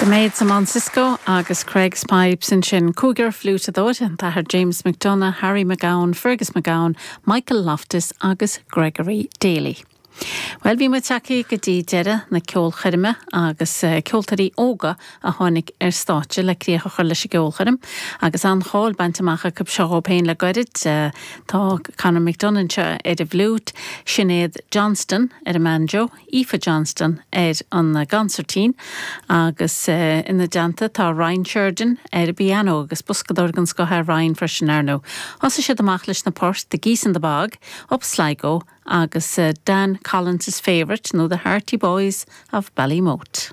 The Maids of Mount Cisco agus Creggs Pipes ansin. Cúigear fliúiteadóir, an tAthair James McDonagh, Harry McGowan, Fergus McGowan, Michael Loftus agus Gregory Daly. Bhuel, bhí muid tagtha go dtí deireadh na ceolchoirme agus ceoltóirí óga a tháinig ar stáitse le críoch a chur leis an gceolchoirm agus an-cháil bainte amach acu seo dhóibh féin le goirid. Tá Conor McDonagh anseo ar an bhfliúit, Sinéad Johnston ar an mbanjo, Aoife Johnston ar an gconsairtín agus ina dteannta tá Ryan Sheridan ar an bpianó agus boscadóir den scoth é Ryan freisin, ar ndóigh. Thosaigh siad amach leis na poirt The Geese in the Bog, Up Sligo agus Dan Collins's Favourite nó The Hearty Boys of Ballymote.